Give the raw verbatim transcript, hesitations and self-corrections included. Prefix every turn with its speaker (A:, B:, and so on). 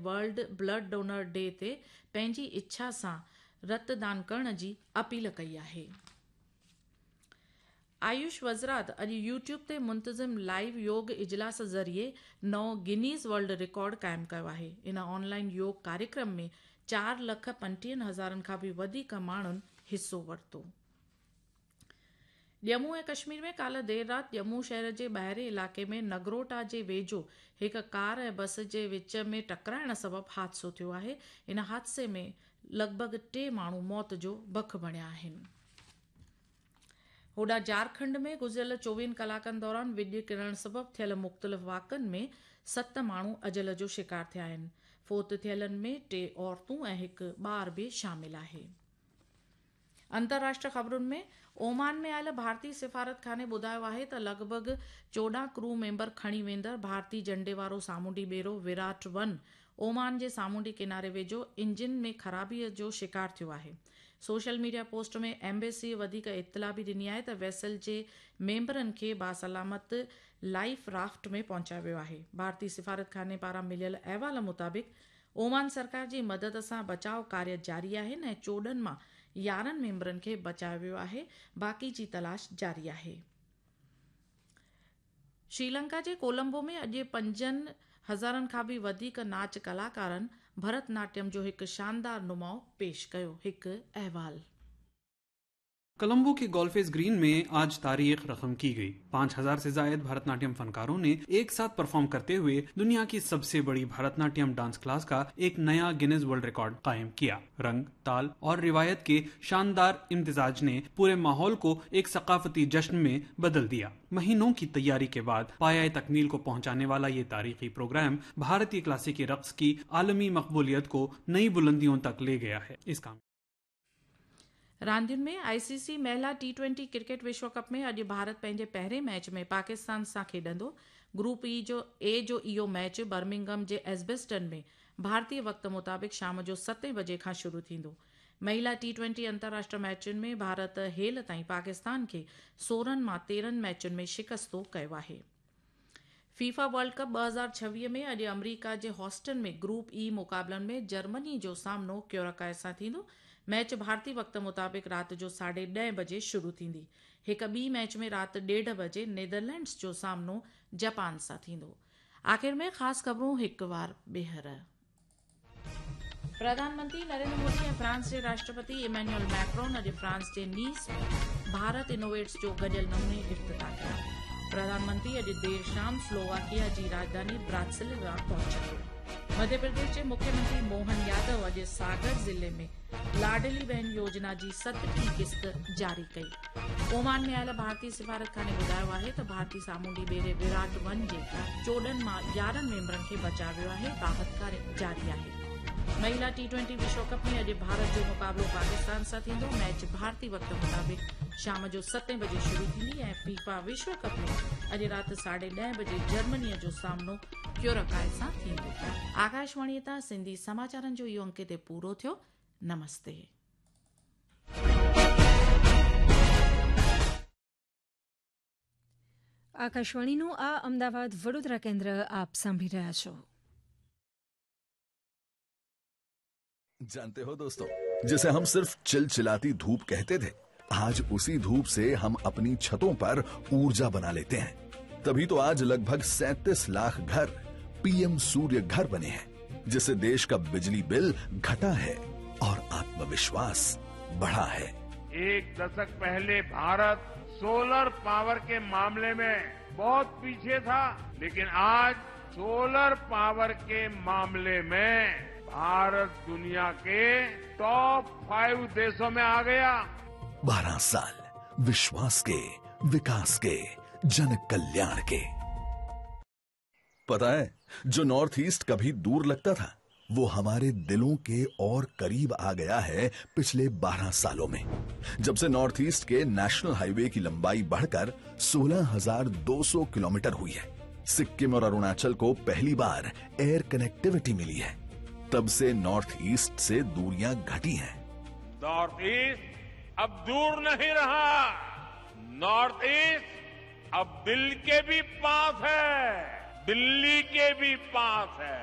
A: World blood donor D تي پنهنجي اڇا سان رت دان ڪرڻ جي اپيل ڪئي آهي. آيوش وزارت اڄ يوٽيوب تي منتظم لائيو يوگ اجلاس ذريعي نئون گنيز ورلڊ رڪارڊ قائم ڪيو آهي. ان آنلائن يوگ ڪاريڪرم ۾ چار لک پنجٽيهن هزارن کان به وڌيڪ ماڻهن حصو ورتو. ڄمون ۽ ڪشمير ۾ ڪالهه دير رات ڄمون شهر جي ٻاهرين علائقي ۾ نگروٽا جي ويجهو هڪ ڪار ۽ بس جي وچ ۾ ٽڪرائڻ سبب حادثو ٿيو آهي. ان حادثي ۾ لڳ ڀڳ ٽي ماڻهو موت جو بک بڻيا آهن. هوڏانهن جهارکنڊ ۾ گذريل چوويهن ڪلاڪن دوران وڄ ڪرڻ سبب ٿيل مختلف واقعن ۾ ست ماڻهو اجل جو شڪار ٿيا آهن. فوت ٿيلن ۾ ٽي عورتون ۽ هڪ ٻار به شامل آهي. انترراشٽريه خبرن ۾ اومان ۾ آيل ڀارتي سفارتخاني ٻڌايو آهي ته لڳ ڀڳ چوڏهن ڪرو ميمبر کڻي ويندڙ ڀارتي جهنڊي وارو سامونڊي ٻيڙو ويراٽ ون اومان جي سامونڊي ڪناري ويجهو انجن ۾ خرابي جو شڪار ٿيو آهي. سوشل ميڊيا پوسٽ ۾ ايمبيسي وڌيڪ اطلاع به ڏني آهي ته ويسل جي ميمبرن کي باسلامت لائف رافٽ ۾ پهچايو ويو آهي. ڀارتي سفارتخاني پاران مليل احوال مطابق اومان سرڪار جي مدد سان بچاء ڪاريه جاري آهن ۽ چوڏهن مان يارهن ميمبرن کي بچايو ويو آهي، باقي جي تلاش جاري آهي. شريلنڪا جي ڪولمبو ۾ اڄ پنجن هزارن کان به وڌيڪ ناچ ڪلاڪارن ڀرت ناٽيم جو هڪ شاندار نماءُ پيش ڪيو. هڪ احوال.
B: कोलंबो के गोल्फेस ग्रीन में आज तारीख रकम की गई। पाँच हजार से जायद भरतनाट्यम फनकारों ने एक साथ परफॉर्म करते हुए दुनिया की सबसे बड़ी भरतनाट्यम डांस क्लास का एक नया गिनीज वर्ल्ड रिकॉर्ड कायम किया। रंग, ताल और रिवायत के शानदार इम्तिजाज ने पूरे माहौल को एक सकाफती जश्न में बदल दिया। महीनों की तैयारी के बाद पाया तकमील को पहुंचाने वाला ये तारीखी प्रोग्राम भारतीय क्लासिकी रक्स की आलमी मकबूलियत को नई बुलंदियों तक ले गया है। इस काम
A: रांदियुनि में आईसीसी महिला टी ट्वेंटी क्रिकेट विश्व कप में अॼु भारत पंहिंजे पहिरें मैच में पाकिस्तान सां खेॾंदो। ग्रुप ई जो ए जो इहो मैच बर्मिंघम जे एजबेस्टन में भारतीय वक़्त मुताबिक़ शाम जो सतें बजे खां शुरू थींदो। महिला टी ट्वेंटी अंतर्राष्ट्रीय मैचुनि में भारत हेल ताईं पाकिस्तान खे सोरहं मां तेरहं मैचुनि में शिकस्तो कयो आहे। फीफा वर्ल्ड कप ٻه هزار ڇويهه ۾ اڄ آمريڪا جي هوسٽن ۾ گروپ اي مقابلن ۾ جرمني جو سامنو ڪيوراڪائي سان ٿيندو. ميچ ڀارتي وقت مطابق رات جو ساڍي ڏهه بجي شروع ٿيندي. هڪ ٻي ميچ ۾ رات ڏيڍ بجي نيدرلينڊز جو سامنو جاپان سان ٿيندو. آخر ۾ خاص خبرون هڪ وار ٻيهر. پرڌان منتري نريندر مودي ۽ فرانس جي راشٽرپتي ايمينيول ميڪرون اڄ فرانس جي نيس ۾ ڀارت انوويٽس جو گڏيل نموني افتتاح ڪيو. پرڌان منتري اڄ دير شام سلوواڪيا جي راڄڌاني براتسلوا پهچندو. مڌيه پرديش جي مکيه منتري موهن يادو اڄ ساگر ضلعي ۾ لاڊلي بهن يوجنا جي ستٽيهين قسط جاري ڪئي. اومان ۾ آيل ڀارتي سفارتخاني ٻڌايو آهي ته ڀارتي سامونڊي ٻيڙي ويراٽ ون جي چوڏهن مان يارهن ميمبرن کي بچايو ويو آهي، راحت ڪاريه جاري آهي. महिला टी ट्वेंटी विश्व कप में अॼु भारत जो मुक़ाबिलो पाकिस्तान सां थींदो। मैच भारतीय वक़्त मुताबिक़ शाम जो सतें बजे शुरू थींदी ऐं फीफा विश्व कप में अॼु राति साढे ॾह बजे जर्मनीअ जो सामनो क्यूराकाए सां थींदो। आकाशवाणीअ तां सिंधी समाचारनि जो इहो अंक हिते पूरो थियो। नमस्ते।
C: આકાશવાણીનું આ અમદાવાદ વડોદરા કેન્દ્ર આપ સાંભળી રહ્યા છો.
D: जानते हो दोस्तों, जिसे हम सिर्फ चिलचिलाती धूप कहते थे, आज उसी धूप से हम अपनी छतों पर ऊर्जा बना लेते हैं। तभी तो आज लगभग सैंतीस लाख घर पीएम सूर्य घर बने हैं, जिससे देश का बिजली बिल घटा है और आत्मविश्वास बढ़ा है।
E: एक दशक पहले भारत सोलर पावर के मामले में बहुत पीछे था, लेकिन आज सोलर पावर के मामले में भारत दुनिया के टॉप फाइव देशों में आ गया।
D: बारह साल विश्वास के, विकास के, जन कल्याण के। पता है, जो नॉर्थ ईस्ट कभी दूर लगता था, वो हमारे दिलों के और करीब आ गया है पिछले बारह सालों में, जब से नॉर्थ ईस्ट के नेशनल हाईवे की लंबाई बढ़कर सोलह हजार दो सौ किलोमीटर हुई है। सिक्किम और अरुणाचल को पहली बार एयर कनेक्टिविटी मिली है। तब से नॉर्थ ईस्ट से दूरियां घटी हैं।
E: नॉर्थ ईस्ट अब दूर नहीं रहा, नॉर्थ ईस्ट अब दिल के भी पास है, दिल्ली के भी पास है।